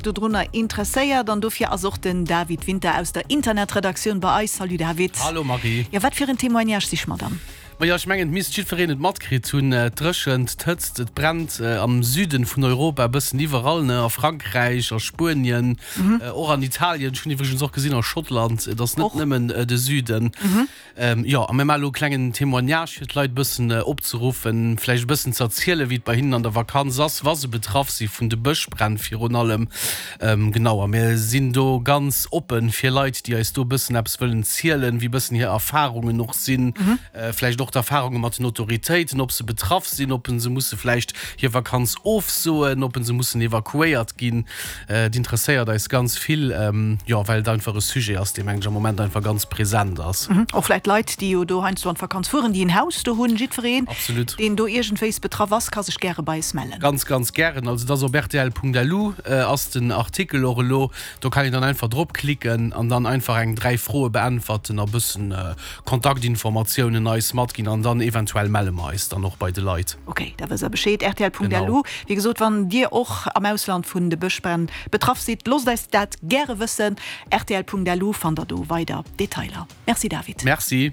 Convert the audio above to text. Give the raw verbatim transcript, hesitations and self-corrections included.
dodrunner interesséiert an dofir ass och den David Winter aus der Internetredaktioun bei eis. Salut David. Hallo Marie. Jo, wat fir en Témoignage siche mer dann? Majo, ech mengen, et misst jiddwereen et matkritt hunn, et dréchent, d'Hëtzt, et brennt am Süden vun Europa e bëssen iwwerall, ne, a Frankräich, a Spuenien, och an Italien, ech hunn iwwregens och gesinn a Schottland, et ass net nëmmen de Süden. Jo, a mir maache elo e klengen Témoignage, fir d'Leit e bëssen opzeruffen, vläicht e bëssen ze erzielen, wéi et bei hinnen an der Vakanz ass, wa se betraff si vun de Bëschbränn virun allem. Genau, a mir sinn do ganz oppen fir Leit, déi eis do e bëssen eppes wëllen zielen, wéi e bëssen hir Erfarungen och sinn, vläicht och d'Erfarunge mat den Autoritéiten, ob se betraff sinn, ob se musse vläicht hir Vakanz ofsoen, ob se mussen evakuéiert ginn. Et interesséiert eis ganz vill, jo, well et einfach e Sujet ass, dee, mengen ech, am Moment einfach ganz present ass. Och vläicht Leit, déi jo do heiansdo an d'Vakanz fueren, déi en Haus do hunn. Jiddwereen, deen do iergendwéis betraff ass, ka sech gäre bei eis mellen. Ganz, ganz gären. Also et ass op rtl.lu ass den Artikel och elo. Do kann een dann einfach drop klicken an dann einfach eng dräi Froe beäntwerten a bëssen Kontaktinformatiounen eis matginn an dann eventuell melle mer eis dann och bei de Leit. Ok, da wësst der Bescheed. Rtl.lu. Wéi gesot, wann Dir och am Ausland vun de Bëschbränn betraff sidd, loosst eis dat gäre wëssen. Rtl.lu fannt der do weider Detailer. Merci David. Merci.